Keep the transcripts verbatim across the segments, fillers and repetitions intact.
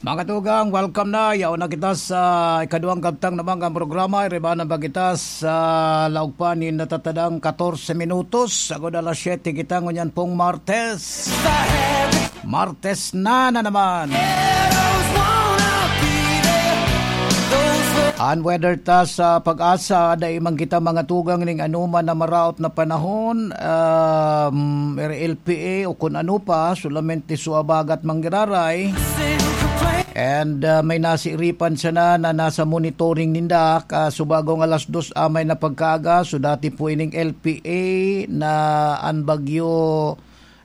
Mga tugang, welcome na. Yaon na kita sa ikaduhang kabtang na mga programa. Iribanan pa kita sa laog pa nin natatadang katorse minutos. Sagod alas siyete kita ngunyan pong Martes. Martes na na naman. An weather ta sa Pag-asa, dai man kita mga tugang ning anoman na maraot na panahon, um, R L P A o kun ano pa, solamente suabagat manggiraray. And, ah, may nasiripan sana na nasa monitoring ninda, ka subagong alas dos amay na pagkaaga, so dati po ining L P A na an bagyo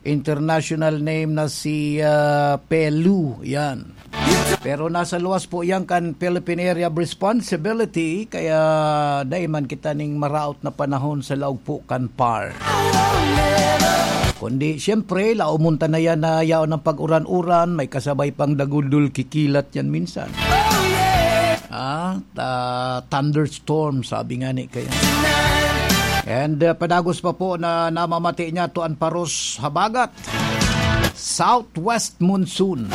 international name na si, ah, Pelu, yan. Pero nasa luwas po yan kan Philippine Area of Responsibility, kaya dai man kita ning maraot na panahon sa laog po kan par. Kundi, siyempre, laomon ta na yan na yaon ang pag-uran-uran, may kasabay pang dagundol kikilat yan minsan. Ah, ta-, thunderstorm, sabi nga ni kaya. And, uh, padagos pa po na namamati niya to an paros habagat. Southwest monsoon.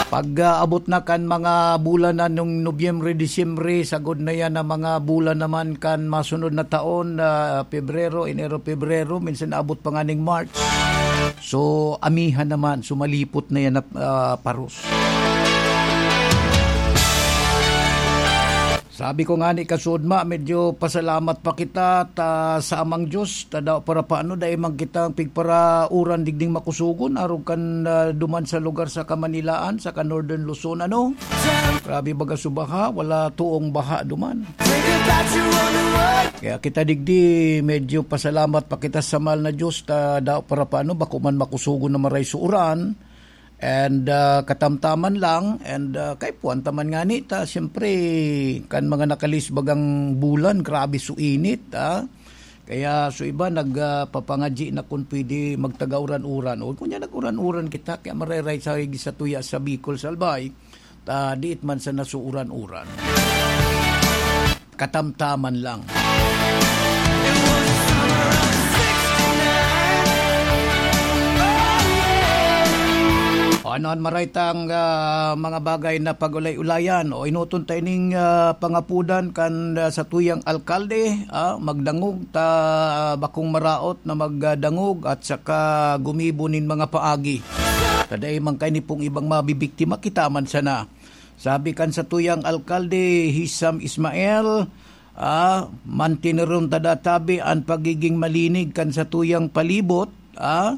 Pag, uh, abot na kan mga bulan na nung Nobyembre, Disyembre, sagod na yan ang mga bulan naman kan masunod na taon, uh, Pebrero, Enero, Pebrero, minsan abot pa nga ning March. So, amihan naman, sumalipot na yan na, ah, paros. Sabi ko nga ni kasudma, medyo pasalamat pa kita ta sa Amang Diyos, ta daw para paano, dai man kitang pigparauran digding makusugon, arog kan, ah, duman sa lugar sa Kamanilaan, sa ka Northern Luzon, ano? Grabe baga subaha, wala tuong baha duman. Kaya kita digdi, medyo pasalamat pa kita sa mahal na Diyos, ta daw para paano, bako man makusugon na maray sa uran. And, ah, katamtaman lang, and, ah, kay puwan ta man ngani ta, siyempre, kan mga nakalisbag ang bulan, grabe so init, ah. Kaya so iba nag, ah, papangadyi na kun pwede magtaga uran-uran. O, kunya nag-uran-uran kita, kaya mareray sa, sa tuya sa Bicol, Salbay, ta diit man sa nasuuran-uran. Katamtaman lang. O, ano an maray tang, ah, mga bagay na pag-ulay-ulayan? O, enoton ta ining, ah, pangapodan kan, ah, satuyang alkalde, ah, magdangog ta, ah, bakong maraot na magdangog at saka gumibo nin mga paagi. Ta dai man kaini pong ibang mabibiktima, kita man sana. Sabi kan satuyang alkalde, Hisam Ismael, ah, mantineron ta da tabi an pagiging malinig kan satuyang palibot, ah,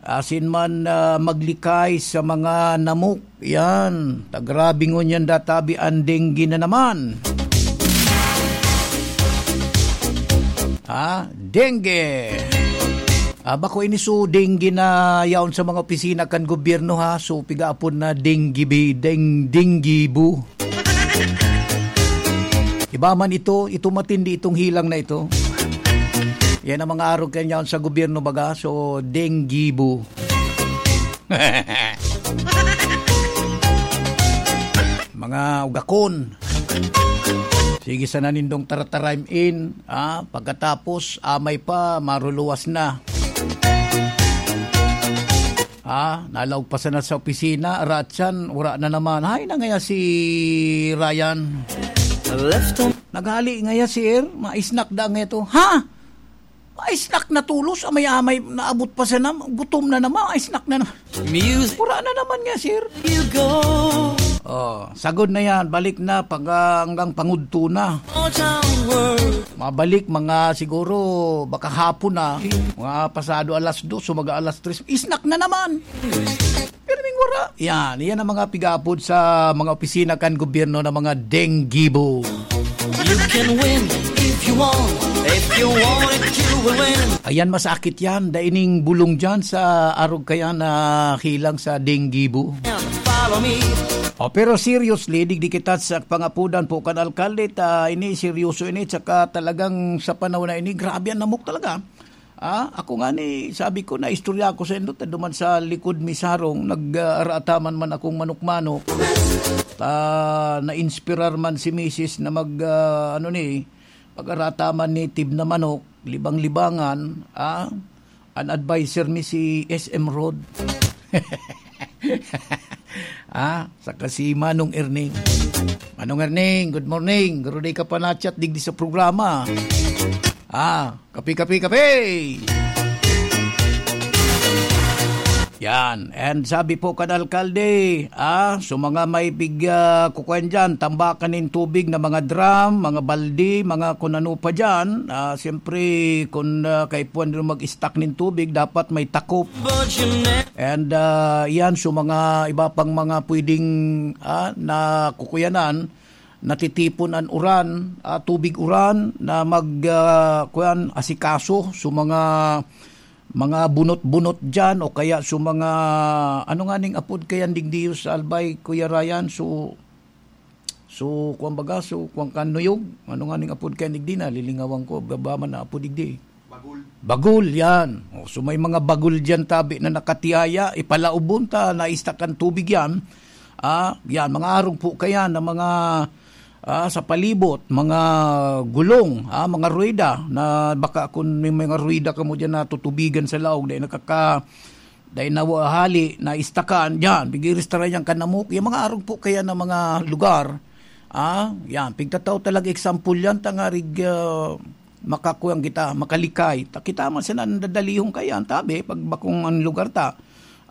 asin man, ah, maglikay sa mga namok. Yan, ta grabe ngunyan da tabi an dengue na naman. Ha? Dengue. Ah, bako ini so dengue na yaon sa mga opisina kan gobyerno, ha? So, pigaapod na dengue bi-, deng-, dengue bu. Iba man ito, ito matindi itong hilang na ito. Yan ang mga arog kan yaon sa gobyerno baga. So, dengue bu. Mga ugakon. Sige sana nindong taratarim in, ah, pagkatapos, amay pa, maruluwas na. Ah, nalaog pa sana sa opisina, aratsan, wala na naman. Hay na ngaya si Ryan. Naghali ngaya, sir, maisnak da ngaya to. Ha? Ay, snack na tulos, amay-amay, naabot pa sana, gutom na naman, ay, snack na na. Music. Pura na naman nga, sir. You go. Oh, sagod na yan, balik na, pag, ah, hanggang pangudto na. All town world. Mabalik, mga siguro, baka hapon na, mga pasado alas dos, o mga alas tres, snack na naman. Pirming wara. Yan, yan ang mga pigapod sa mga opisina kan gobyerno na mga denggibo. You can win if you want. If you want it, you will win. Ayan, masakit yan. Daining bulong dyan sa arog kaya na hilang sa denggibo. Follow me. Oh, pero seriously, digdi kita sa pangapudan po kan alkalde, ta ini seryoso ini, tsaka talagang sa panahon na ini, grabe ang namok talaga. Ah, ako nga ni, sabi ko, naistorya ko sa indo, ta duman sa likod mi sarong, nag, ah, araataman man akong manok-manok. Ta, na-inspirar man si misis na mag, ah, ano ni, pag-arataman ni tib na manok, libang-libangan, ah, an adviser mi si S M Rod. Ah, saka si Manong Erning. Manong Erning, good morning. Garo, di ka pa na-chat digdi sa programa. Ah, kape, kape, kape! Yan. And sabi po kan alkalde, ah, so mga may big, ah, kukuan dyan, tambakan nin tubig na mga drum, mga baldi, mga kun ano pa dyan, ah, siyempre, kun, ah, kaipuhan nyo mag-stock nin tubig, dapat may takop. And, ah, yan, so mga iba pang mga pwedeng, ah, na kukuyanan, natitipon an uran, ah, tubig uran na mag, ah, kuyan, asikaso. So mga, mga bunot-bunot dyan o kaya so mga, ano nga ning apod kayan digdi sa Albay, Kuya Ryan? So, so, kuwan baga, so, kuwan kan nuyog? Ano nga ning apod kayan digdi? Nalilingawan ko, baba man na apod digdi. Bagul. Bagul, yan. O, so may mga bagul dyan tabi na nakatiyaya, ipalaubon ta, naistak an tubig yan. Ah, yan, mga arog po kaya na mga, ah, sa palibot, mga gulong, ah, mga ruweda, na baka kun may mga ruweda kamo dyan na tutubigan sa laog, dahil nakaka-, dahil nawahali, naistakan, dyan, pigiristara yan kanamok. Yung mga arog po kaya na mga lugar, ah, yan, pigtatao talaga example yan, tangarig, ah, makakuwang kita, makalikay. Ta-, kita man sa nandadalihon kaya, ang tabi, pag bakong ang lugar ta.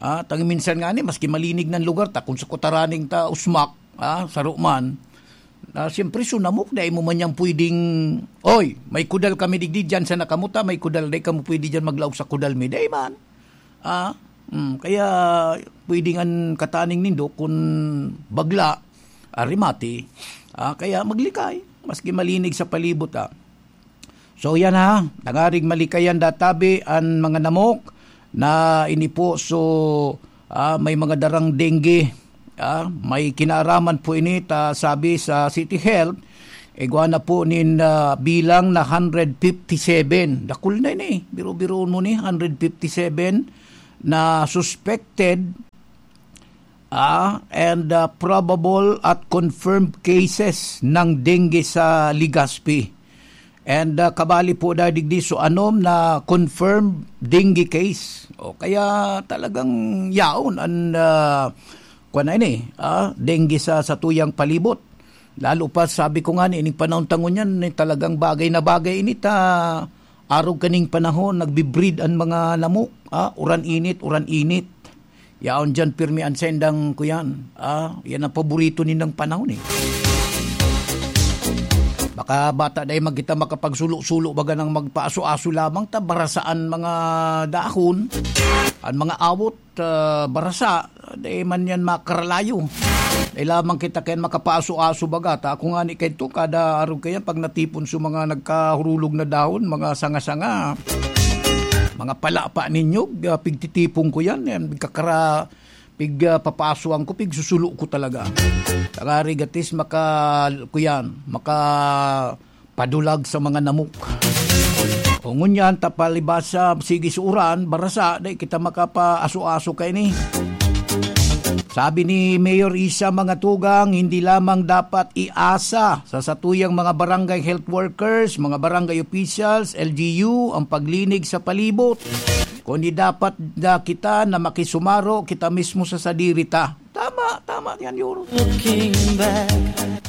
Ah, tangi minsan nga ni, maski malinig ng lugar ta, kung sa kutaraning ta, usmak, ah, saro man. Ah, siyempre, sunamok, dai mo man yan pwedeng, "Oy, may kudal kami digdi dyan sa nakamuta, may kudal, dai kamo pwede dyan maglaog sa kudal mi." Dai man. Ah, mm, kaya pwede ngan kataning nindo kun bagla, arimati, ah, kaya maglikay, maski malinig sa palibot, ah. So, yan ha, tangarig malikayan databi an mga namok na ini po. So, ah, may mga darang dengue, ah, may kinaaraman po ini, ta sabi sa City Health, igwa na po nin, ah, bilang na hundred fifty-seven. Dakul na ini, biro-biroon mo ni, hundred fifty-seven na suspected, ah, and, ah, probable at confirmed cases ng dengue sa Legazpi. And, ah, kabali po dahil digdi so anom na confirmed dengue case. O kaya talagang yaon an, ah, kuwan na ini, ah, dengue sa satuyang palibot. Lalo pa, sabi ko nga ni, ining panahon ta ngunyan, eh, talagang bagay na bagay ini ta arog kaning panahon, nagbi-breed an mga lamok, ah, uran init, uran init. Yaon diyan, pirmi an sendang kuyan. Ah, yan ang paborito nindang panahon, eh. Baka bata dai magkita makapagsulo-sulo, baga nang magpaaso-aso lamang ta, barasaan mga dahon, an mga awot, ah, barasa, dai man yan makaralayo. Dai lamang kita kayan makapaaso-aso, baga ta. Ako nga ni kaito, kada arog kayan, pag natipon sa mga nagkahurulog na dahon, mga sanga-sanga, mga palapa ninyo, ah, pigtitipon ko yan, yan, pigkakara-, pig, ah, papasuan ko, pigsusulo ko talaga. Tangarig at least maka, kuyan, maka padulag sa mga namok. O ngunyan, ta palibasa, sige sa uran, barasa, dai kita makapaaso-aso kaini. Sabi ni Mayor Isa Mangatugang, hindi lamang dapat iasa sa satuyang mga barangay health workers, mga barangay officials, L G U, ang paglinig sa palibot, kundi dapat na kita na makisumaro kita mismo sa sadiri ta. Tama, tama yan, Yoro. Looking back.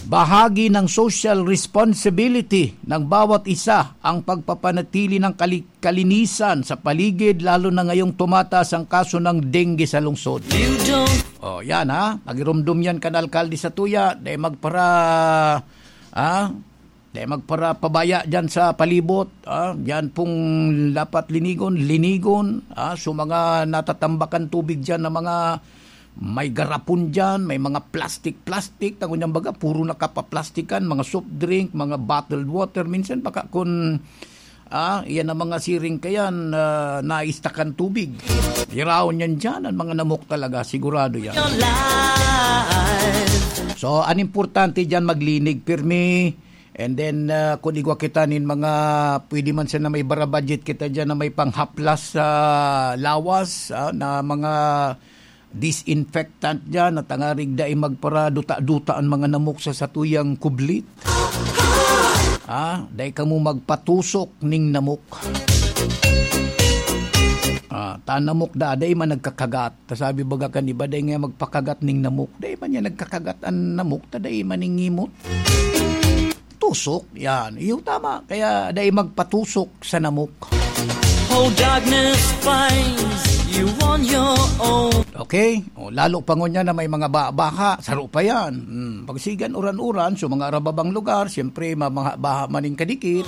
Bahagi ng social responsibility ng bawat isa ang pagpapanatili ng kali-, kalinisan sa paligid, lalo na ngayong tumataas ang kaso ng dengue sa lungsod. You don't. Oh, yan ha. Pagirumdom yan kan alkalde sa tuya, dai magpara, ah, dai magpara pabaya dyan sa palibot, ah, yan pong dapat linigon, linigon, ah, so mga natatambakan tubig dyan na mga may garapon dyan, may mga plastic-plastic, tango niyang baga, puro nakapaplastikan, mga soft drink, mga bottled water. Minsan baka kun, ah, yan ang mga siring kayan, ah, naistakan tubig. Iraon yan dyan, ang mga namok talaga, sigurado yan. Your life. So, an importante dyan, maglinig, pirmi. And then, ah, kung igwa kita nin mga, pwede man sana may bara budget kita dyan na may panghaplas sa lawas, ah, na mga disinfectant dyan, na tangarig dai magparaduta-duta ang mga namok sa satuyang kublit. Ah, dai kamo magpatusok ning namok. Ah, ta namok da, dai man nagkakagat. Ta sabi baga kan iba, dai nga magpakagat ning namok. Dai man yan nagkakagat an namok, ta dai man ning ngimot. Tusok, yan. Iyo, tama. Kaya dai magpatusok sa namok. Oh, darkness finds you on your own. Okay? O, lalo pa ngunyan na may mga ba-, baha, saro pa yan. Hmm, pag sigan uran-uran, sa mga arababang lugar, siyempre, mamaha-, baha man ning kadikit.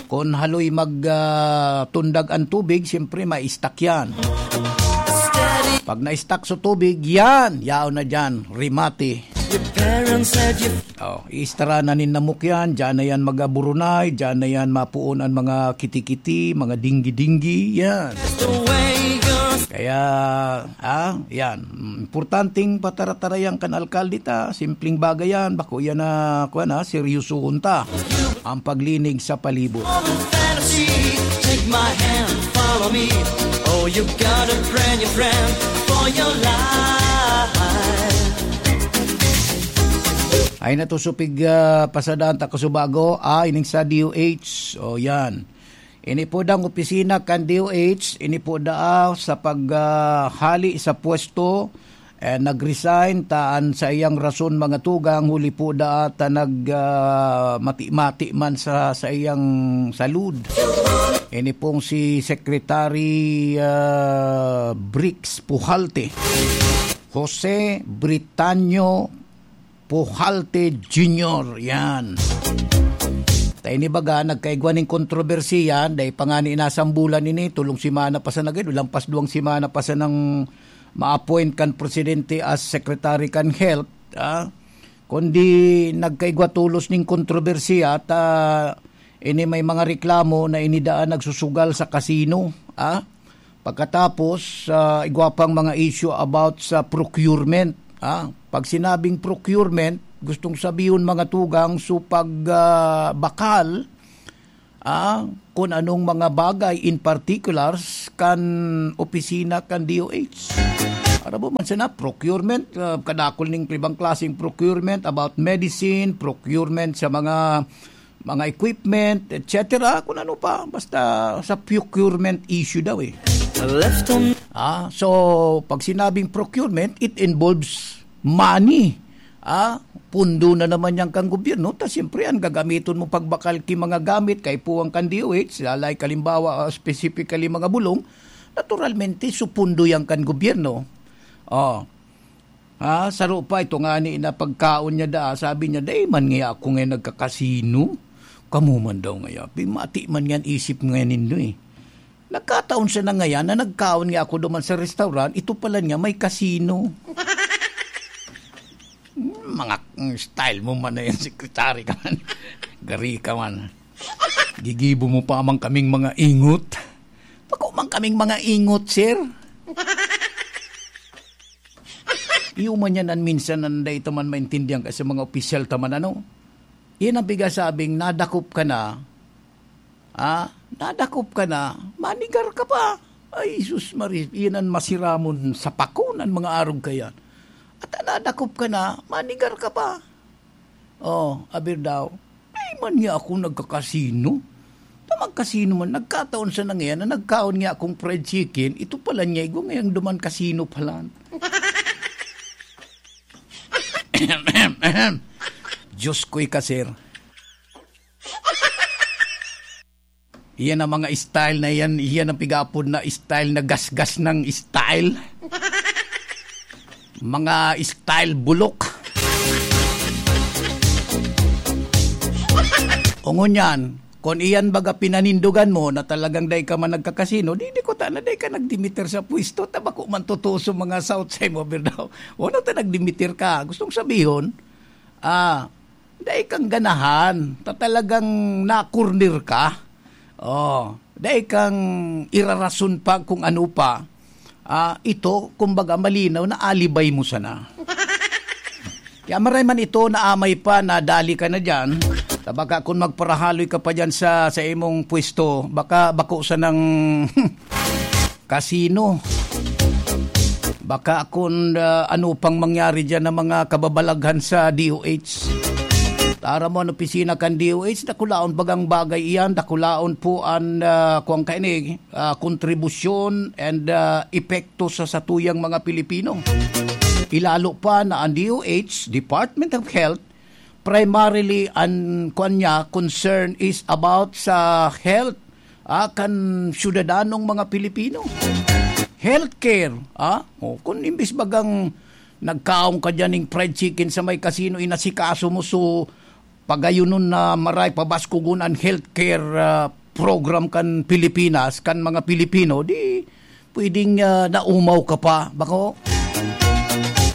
Kun haloy mag, ah, tundag an tubig, siyempre, ma-stuck yan. Pag na-stuck sa tubig, yan, yaon na dyan, rimate. Your parents said you Oh, iistara na nin namok yan, dyan na yan mag-aburunay, dyan na yan mapuon an mga kitikiti, mga dinggi-dinggi, yan. Kaya, ah, yan. Mm, importanteng pataratarayan kan alkalde ta, simpleng bagay yan, bako yan na, kuwan, ah, seryosohon ta ang paglinig sa palibot. Fantasy, take my hand, follow me. Oh, you got a brand new friend for your life. Ay, natusupig, ah, pasadaan ta kasubago. Ah, ining sa D O H. O, yan. Ini po dang opisina kan D O H. Ini po daa sa pag, ah, hali sa pwesto. Eh, nag-resign ta an saiyang rason, mga tugang, huli po daa ta nag, ah, mati-mati man sa saiyang salud. Ini pong si Secretary, ah, Bricks Pujalte. Jose Britanio Pujalte Junior, yan. Ta ini baga, nagkaigwa ning kontrobersiya, dai pa ngani nasambulan ini, tolong semana pa sana gid, lampas duwang semana pa sanang ma-appoint kan presidente as secretary kan health, ah. Kundi nagkaigwa tolos ning kontrobersiya, ta ini may mga reklamo na ini daa nagsusugal sa kasino, ah. Pagkatapos, ah, igwa pang mga issue about sa procurement, ah. Pag sinabing procurement, gustong sabihon, mga tugang, so pag, ah, bakal, ah, kun anong mga bagay in particulars kan opisina kan D O H. Aram mo man sana, procurement, ah, kadakul ning ibang klaseng procurement about medicine, procurement sa mga, mga equipment, et cetera. Kun ano pa, basta sa procurement issue daw eh. Left on Ah, so, pag sinabing procurement, it involves money. Ah, pundo na naman yan kan gobyerno. Ta siyempre, an gagamiton mo pagbakal ki mga gamit, kaipuhan kan D O H, lalay kalimbawa, ah, specifically mga bulong, naturalmente, supundo yan kan gobyerno. Oh. Ah, saro pa, ito ngani na pagkaon niya daa, sabi niya, "Dai man ngaya ako ngayon nagkakasino." Kamo man daw ngaya, pimati man yan isip ngayon nindo eh. Nagkataon siya na ngayan na nagkaon nga ako duman sa restaurant, ito pala niya may kasino. Hmm, mga, mm, style mo man na yan, sekretary ka man. Gari ka man. Gigibo mo pa man kaming mga ingot. Bako man kaming mga ingot, sir. Iyo man yan an minsan an dai ta man maintindihan kasi mga opisyal ta man, ano? Yan ang pigasabing nadakop ka na, ah, nadakop ka na, manigar ka pa. Ay, sus Maria, iyan an masiramon sa pako nan mga arog kayan. At nadakop ka na, manigar ka pa. Oh, aber daw, "Dai man niya ako nagkakasino. Ta magkasino man, nagkataon sa nangyayari na nagkaon niya akong fried chicken, ito pala niya, igwa ngayang duman kasino pala." Diyos ko, ika, sir. Iyan ang mga style na iyan, iyan ang pigapod na style na gasgas ng style. Mga style bulok. O ngunyan, kung iyan baga pinanindugan mo na talagang dai ka man nagkakasino, di, di ko ta na dai ka nagdimiter sa pwesto, ta bako man totoo sa mga South Side mo, Birdaw. Wala ta nagdimiter ka. Gustong sabihon, ah, dai kang ganahan, ta talagang na-corner ka. Oh, dai kang irarason pa kung ano pa. Ah, ito, kumbaga, malinaw na alibay mo sana. Kaya maray man ito na amay pa na dali ka na diyan. Ta baka kun magparahaloy ka pa diyan sa, sa imong pwesto, baka bako sanang kasino. Baka kun, ah, ano pang mangyari diyan ng mga kababalaghan sa D O H. Tara mo an opisina kan D O H, dakulaon bagang bagay iyan, dakulaon po an, ah, kuwan kaini, ah, kontribusyon and, ah, epekto sa satuyang mga Pilipino. Ilalo pa na an D O H, Department of Health, primarily an kuwan niya, concern is about sa health, ah, kan syudadanong mga Pilipino. Healthcare, ah, o, kung imbis bagang nagkaon ka diyan ning fried chicken sa may casino, inasikaso mo, so, pagayunon na maray, pabaskugon an healthcare, ah, program kan Pilipinas, kan mga Pilipino, di pwedeng, ah, naumaw ka pa. Bako,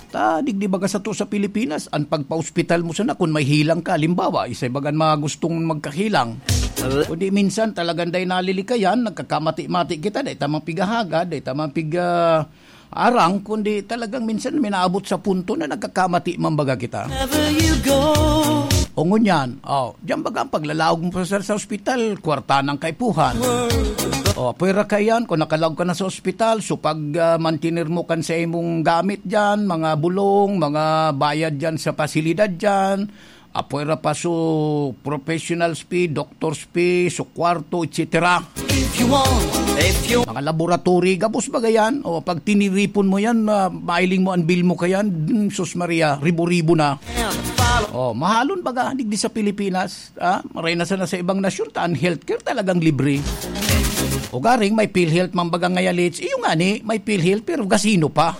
ta, digdi baga sato sa Pilipinas, an pagpa-ospital mo sana, kun may hilang ka, halimbawa, isay bagan mga gustong magkahilang. Kundi minsan, talagang dai nalilikayan, nagkakamati-mati kita, dai ta man pigahaga, dai ta man pig-, ah, arang, kundi talagang minsan minaabot sa punto na nagkakamati man baga kita. Wherever you go. O ngunyan, oh, diyan baga ang paglalaog mo sa, sa ospital, kwarta ng kaipuhan. O, pwera ka yan, kung nakalaog ka na sa ospital, so pag, ah, mantener mo kan sa imong gamit dyan, mga bulong, mga bayad dyan sa pasilidad dyan, apwera pa so professionals fee, doctors fee, so kwarto, et cetera. If you want, if you Mga laboratory, gabos baga yan. O, pag tiniripon mo yan, ma-, mailing mo ang bill mo kayan, hmm, sus Maria, ribo-ribo na. O, mahalon baga, digdi sa Pilipinas, ah, maray na sana sa ibang nasyon, ta an healthcare talagang libre. O garing, may PhilHealth man baga ngaya, Leeds. Iyo nga ni, may PhilHealth, pero gasino pa.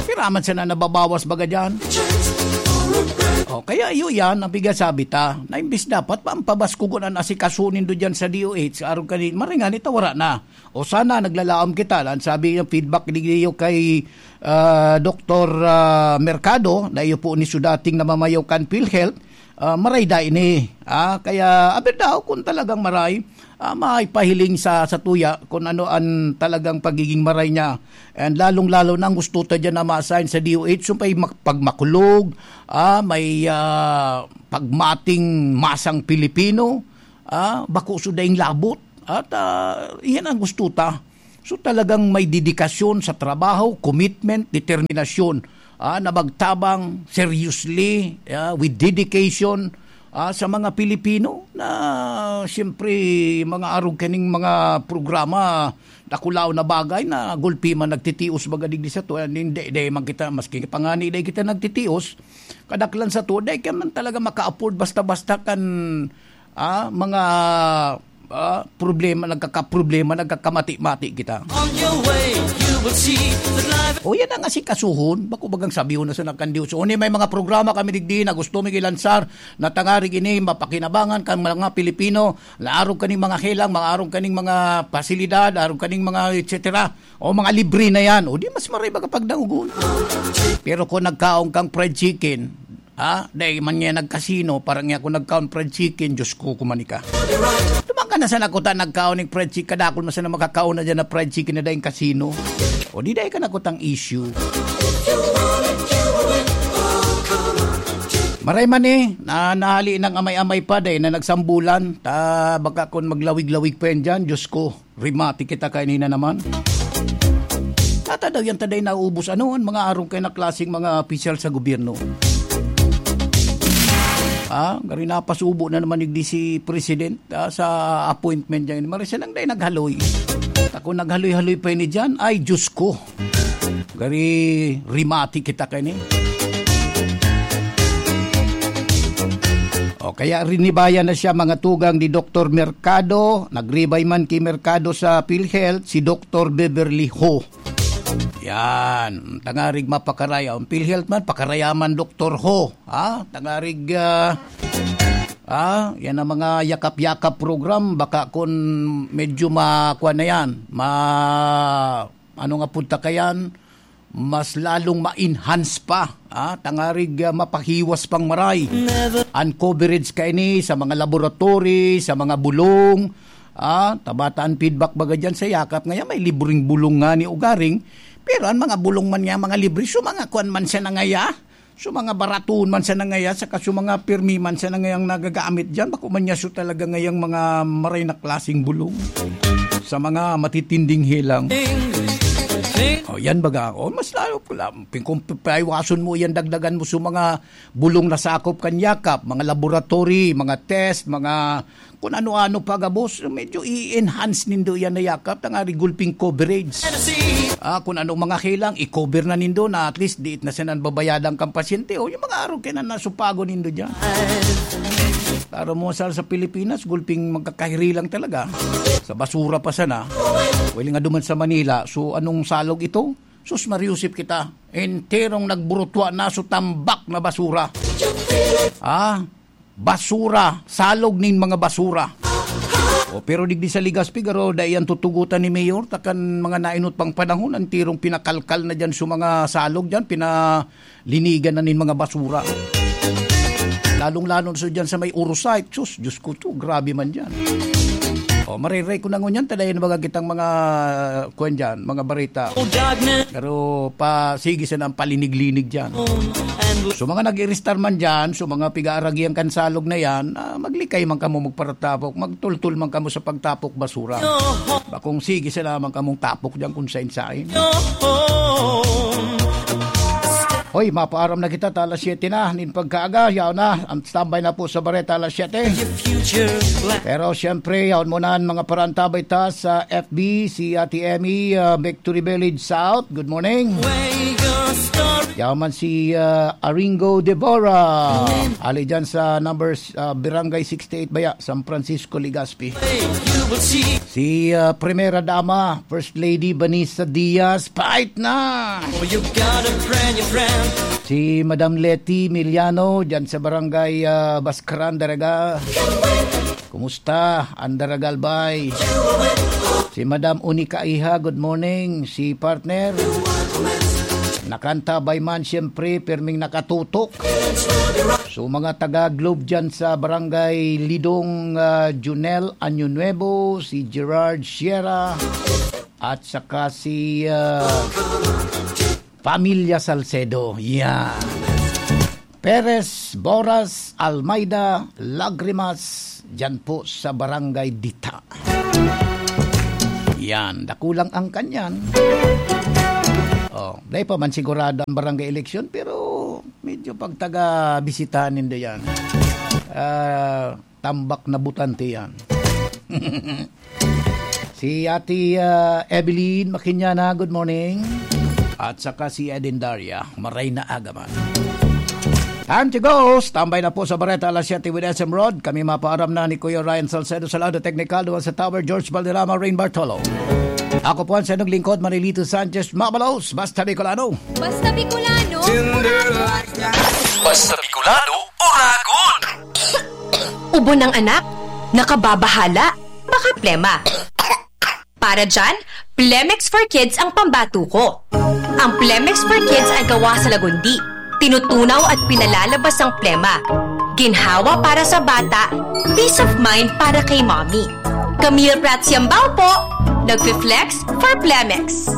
Piraman sana nababawas baga dyan. O, kaya iyo yan, ang pigasabi ta, na imbis dapat pa ang pabaskugon an asikaso nindo dyan sa D O H, arog kani, maray nga ni ta wara na. O sana, naglalaom kita, lan sabi niya, feedback niyo kay, ah, Doktor, ah, Mercado, na iyo po ni sudating namamayo kan PhilHealth, ah, maray da ini. Ah, kaya, aber daw, kung talagang maray, ah, maipahiling sa, sa tuya kung ano ang talagang pagiging maray niya. And lalong-lalo na ang gusto ta dyan na ma-assign sa D O H, so may mak-, pagmakulog, ah, may, ah, pagmating masang Pilipino, ah, bako so daing labot. At, ah, iyan ang gusto ta. So, talagang may dedikasyon sa trabaho, commitment, determinasyon, ah, na magtabang seriously, ah, with dedication, ah, sa mga Pilipino na, siyempre, mga arog kaning mga programa, dakulaw na bagay na gulpi man nagtitios baga digdi sato, and hindi, di man kita, maski pa ngani di kita nagtitios, kadaklan sato, di ka man talaga maka-afford basta-basta kan, ah, mga, ah, problema, nagkakaproblema, nagkakamati-mati kita. On your way, you will see that life O yan ang asikasuhon, bako bagang sabihon na sa nakandiw. So, uni may mga programa kami digdi na gusto mi ilansar na tangarig ini mapakinabangan kan mga Pilipino, na arog kaning mga helang, mga arog kaning mga pasilidad, arog kaning mga et cetera. O mga libre na yan. O di mas maray baga pagdaogon. Pero kung nagkaon kang fried chicken, ha? Dai man niya nagkasino, parang niya ako nagkaon fried chicken, Diyos ko, kumanika. Duman ka na sa nakuta nagkaon ng fried chicken, kadakol man sana makakaon na dyan na fried chicken na daing kasino. O di dai ka nakutang issue. Maray man eh, na nahali ng amay-amay pa, dai na nagsambulan. Ta, baka kung maglawig-lawig pa yan dyan, Diyos ko. Rimati kita kaini na naman. Tata daw yan taday naubos. Ano ang mga arong kay na klaseng mga opisyal sa gobyerno? Ah, gari napasubo na naman yung D C President, ah, sa appointment niya. Marisa lang day naghaloy. Ako naghaloy-haloy pa ini dyan. Ay, Diyos ko. Gari rimati kita kaini. O kaya rinibayan na siya, mga tugang ni Doktor Mercado. Nagribay man ki Mercado sa PhilHealth, si Doktor Beverly Ho. Yan, tangarig mapakaraya. Ang PhilHealth man, pakaraya man, Doktor Ho. Ha? Tangarig, ah, ah, yan ang mga yakap-yakap program. Baka kung medyo ma-, kuwan na yan, ma-, ano nga punta ka yan, mas lalong ma-enhance pa, ah, tangarig, ah, mapahiwas pang maray an coverage kaini sa mga laboratory, sa mga bulong, ah, tabata an feedback baga dyan sa yakap. Ngayon, may libreng bulong nga ni ugaring, pero ang mga bulong man niya, mga libre, so mga kuwan man siya nangaya, so mga baraton man siya nangaya, saka so mga pirmi man siya nangayang nagagamit dyan, bako man niya so talaga ngayang mga maray na klaseng bulong sa mga matitinding helang. O, yan baga. O, mas lalo, kung paiwason mo yan, dagdagan mo sa mga bulong na sakop kan Yakap, mga laboratory, mga test, mga kung ano-ano pa gabos, medyo i-enhance nindo yan na Yakap, tangari gulping coverage. Ah, kung anong mga kailang, i-cover na nindo na at least diit na sinan babayadan kan pasyente. O, yung mga araw kaya na nasupago nindo dyan. Para mo sa, sa Pilipinas, gulping magkakahiri lang talaga. Sa basura pa sana. Well, nga duman sa Manila, so anong salog ito? Sus, mariusip kita. Enterong nagburutwa na so tambak na basura. Ah, basura, salog nin mga basura. O, pero digdi sa Legazpi, garo, dai yan tutugutan ni Mayor, takan mga nainot pang panahon, ang tirong pinakalkal na dyan sa mga salog dyan, pinalinigan na nin mga basura. Lalong-lalo na sa dyan sa may Urusite, sus, Diyos ko to, grabe man dyan. O, mariray ko na ngunyan, tadayan baga kitang mga, kwan dyan, mga barita. Pero pa, sige sana ang palinig-linig dyan. So, mga nag-iristar man dyan, so, mga piga-aragihan kan salog na yan, ah, maglikay man kamo magparatapok, magtultol man kamo sa pagtapok basura. Bakong sige sana man kamong tapok dyan kung sain-sain. Hoy, mapaaram na kita, ta alas siyete na, nin pagkaaga, yaw na, ang standby na po sa bareta, alas siyete. Pero siyempre, yaon mo na ang mga parantabay ta sa F B, si Ate Emmy, ah, Victory Village South. Good morning. Yaman si, ah, Aringo Devora. Ali dyan sa numbers, ah, Barangay sixty-eight Baya, San Francisco, Legazpi. Si, ah, Primera Dama, First Lady Vanessa Diaz, pait na! Si Madam Leti Miliano, dyan sa barangay, ah, Bascaran, Daraga. Kumusta? Andara Galbay. Si Madam Unica Iha, good morning. Si partner, nakanta by man, siyempre, pirming nakatutok. So, mga taga Globe dyan sa Barangay Lidong, ah, Junel Año Nuevo, si Gerard Sierra, at saka si, ah, Pamilya Salcedo. Yan. Perez, Boras, Almeida, Lagrimas, dyan po sa Barangay Dita. Yan, dakulang ang kanyan. Oh, dai pa man sigurado ang barangay eleksyon, pero medyo pagtaga-bisitahan nindo yan. Ah, tambak na butante yan. Si Ate, ah, Evelyn Makinyana, good morning. At saka si Eden Daria, maray na aga man. Time to go! Standby na po sa Bareta, alas siyete with S M Rod. Kami mapaaram na ni Kuya Ryan Salcedo sa lado teknikal, duman sa Tower, George Valderrama, Rain Bartolo. Ako po ang sanong lingkod, Marilito Sanchez Mabalos. Basta Bicolano. Basta Bicolano. Basta Bicolano, Uragon! Ubo ng anak? Nakababahala? Baka plema. Para dyan, Plemex for Kids ang pambato ko. Ang Plemex for Kids ay gawa sa lagundi. Tinutunaw at pinalalabas ang plema. Ginhawa para sa bata, peace of mind para kay mommy. Camille Prats Yambao po, nagfi-flex for Plemex.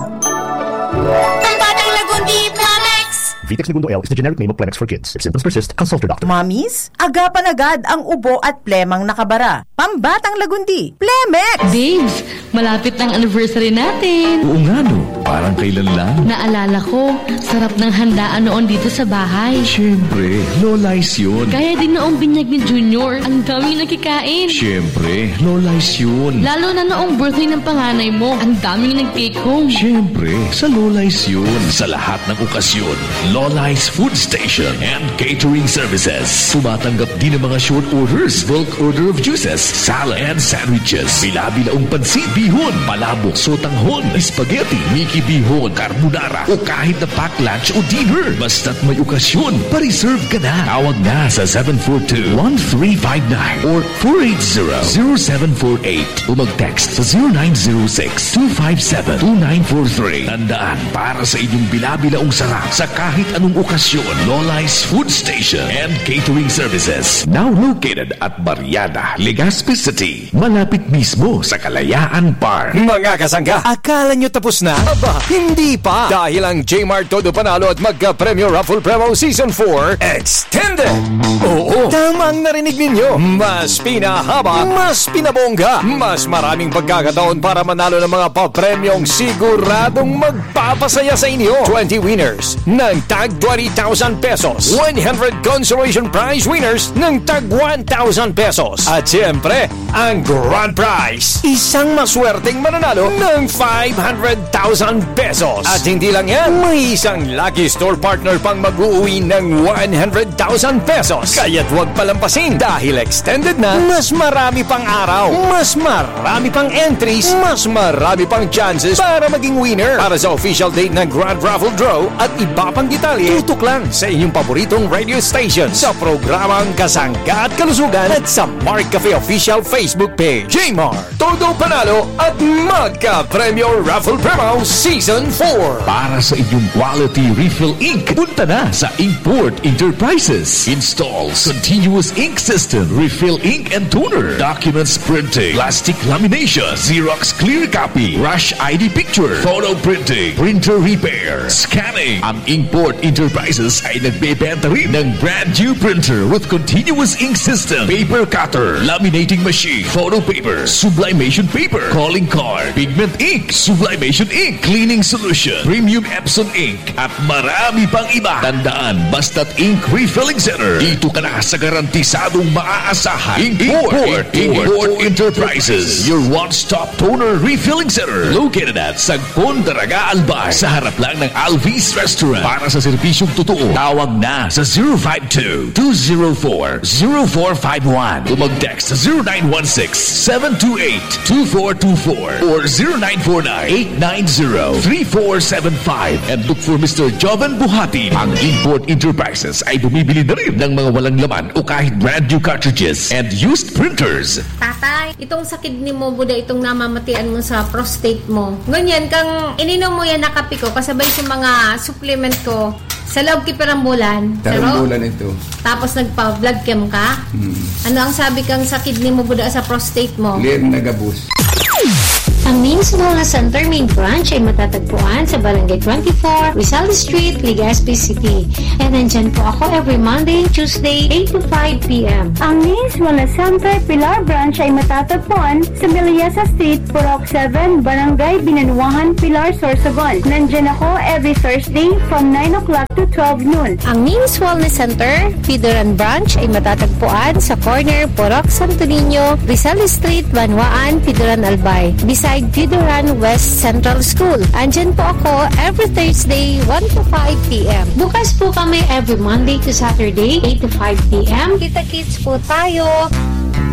Pambatang lagundi, Plemex! Vitex Negundo L is the generic name of Plemex for Kids. If symptoms persist, consult your doctor. Mommies, agapan agad ang ubo at plemang nakabara. Pambatang lagundi, Plemex! Babes, malapit na ang anniversary natin. Oo nga, no? Parang kailan lang. Naalala ko, sarap ng handaan noon dito sa bahay. Siyempre, Lola's yun. Kaya din noong binyag ni Junior, ang daming nakikain. Siyempre, Lola's yun. Lalo na noong birthday ng panganay mo, ang daming nag-take home. Siyempre, sa Lola's yun. Sa lahat ng okasyon, Lola's Food Station and Catering Services. Tumatanggap din ng mga short orders, bulk order of juices, salad, and sandwiches. Bila-bilaong pansit, bihon, palabok, sotanghon, spaghetti, miki bihon, carbonara, o kahit na pack lunch o dinner. Basta't may okasyon, pa-reserve ka na. Tawag na sa seven four two, one three five nine or four eight zero, zero seven four eight o mag-text sa zero nine zero six, two five seven, two nine four three. Tandaan, para sa inyong bila-bilaong sarap sa kahit anong okasyon, Lola's Food Station and Catering Services. Now located at Barriada, Legazpi City. Malapit mismo sa Kalayaan Park. Mga kasangga, akala nyo tapos na? Aba, pa? Hindi pa. Dahil ang J-Mart Todo Panalo at Magka-Premyo Raffle Promo Season four Extended. Oo, tama ang narinig ninyo. Mas pinahaba, mas pinabongga, mas maraming pagkakataon para manalo ng mga papremyong siguradong magpapasaya sa inyo. Twenty winners ng tag twenty thousand pesos. One hundred consolation prize winners ng tag one thousand pesos. At siyempre, ang grand prize, isang maswerteng mananalo ng five hundred thousand pesos. At hindi lang yan, may isang lucky store partner pang mag-uuwi ng one hundred thousand pesos. Kaya't huwag palampasin dahil extended na, mas marami pang araw, mas marami pang entries, mas marami pang chances para maging winner. Para sa official date ng Grand Raffle Draw at iba pang detalye, tutok lang sa inyong paboritong radio station sa programang Kasangga at Kalusugan at sa Mark Cafe Official Facebook Page. J-Mart, Todo Panalo at Magka-Premyo Raffle Promo Season four. Para sa inyong quality refill ink, punta na sa Inkport Enterprises. Installs continuous ink system, refill ink and toner, documents printing, plastic lamination, Xerox clear copy, rush I D picture, photo printing, printer repair, scanning. Ang Inkport Enterprises ay nagbebenta rin ng brand new printer with continuous ink system, paper cutter, laminating machine, photo paper, sublimation paper, calling card, pigment ink, sublimation ink, cleaning solution, premium Epson ink, at marami pang iba. Tandaan, basta't ink refilling center, dito ka na sa garantisadong maaasahan. Import, Import Enterprises, your one-stop toner refilling center, located at Sagpon, Daraga, Albay, sa harap lang ng Alvis Restaurant. Para sa serbisyong totoo, tawag na sa zero five two, two zero four, zero four five one o mag-text sa zero nine one six, seven two eight, two four two four or zero nine four nine, eight nine zero, three four seven five and look for Mister Joven Buhatin. Ang Import Enterprises ay bumibili na rin ng mga walang laman o kahit brand new cartridges and used printers. Tatay, itong sa kidney mo, Buda, itong namamatian mo sa prostate mo. Ngunyan, kang ininom mo yan na kape ko, kasabay sa mga supplement ko, sa loob ki pirang bulan. Tarong Pero, bulan ito. Tapos nagpa-blood chem ka? Hmm. Ano ang sabi kang sa kidney mo, Buda, sa prostate mo? Lir na gabos. Ang Names Wellness Center main branch ay matatagpuan sa Barangay twenty-four, Rizal Street, Legazpi City. And nandyan po ako every Monday and Tuesday, eight to five p m. Ang Names Wellness Center Pilar Branch ay matatagpuan sa Miliasa Street, Purok seven, Barangay Binanuahan, Pilar, Sorsogon. Nandyan ako every Thursday from nine o'clock to twelve noon. Ang Names Wellness Center, Pidoran Branch ay matatagpuan sa corner Purok Santo Niño, Rizal Street, Banwaan, Pidoran, Albay, beside Pidoran West Central School. Andyan po ako every Thursday, one to five p m. Bukas po kami every Monday to Saturday, eight to five p m. Kita-kits po tayo!